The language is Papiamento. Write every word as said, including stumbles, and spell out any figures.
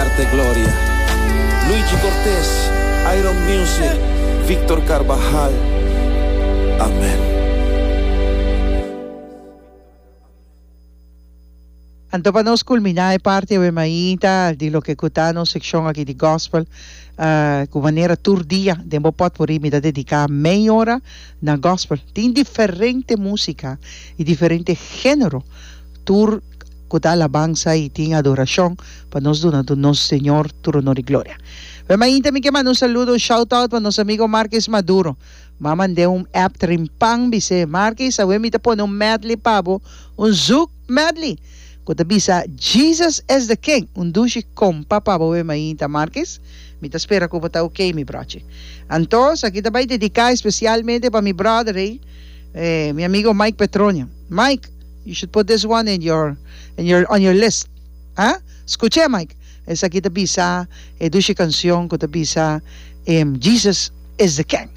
Darte gloria. Luigi Cortés, Iron Music, Víctor Carvajal. Amén. Anto pa nos kulminá e parti awe mainta di loke ku ta nos sekshon aki di gospel, uh, ku manera tur dia den bo potpourri mi ta dediká mei ora na gospel. Tin diferente músika i diferente género. Tur ku ta alabansa i tin adorashon pa nos duna nos Señor tur honor i gloria. Awe mainta mi ke manda un saludo, un shout out pa nos amigo Marques Maduro. M'a mand'é un app trempan, bis'é Marques, awe mi ta pone un medley pa bo, un zouk medley. Ku ta bisa Jesus is the King. Un dushi kompa pa bo awe mainta Marques. Mi ta spera ku bo ta okay, mi brochi. Anto, aki ta bai dediká espesialmente pa mi brother, eh, eh, mi amigo Mike Petronia. Mike, you should put this one in your in your on your list. Ah? Skucha, Mike. Esaki ta bisa e dushi kanshon ku ta bisa um, Jesus is the King.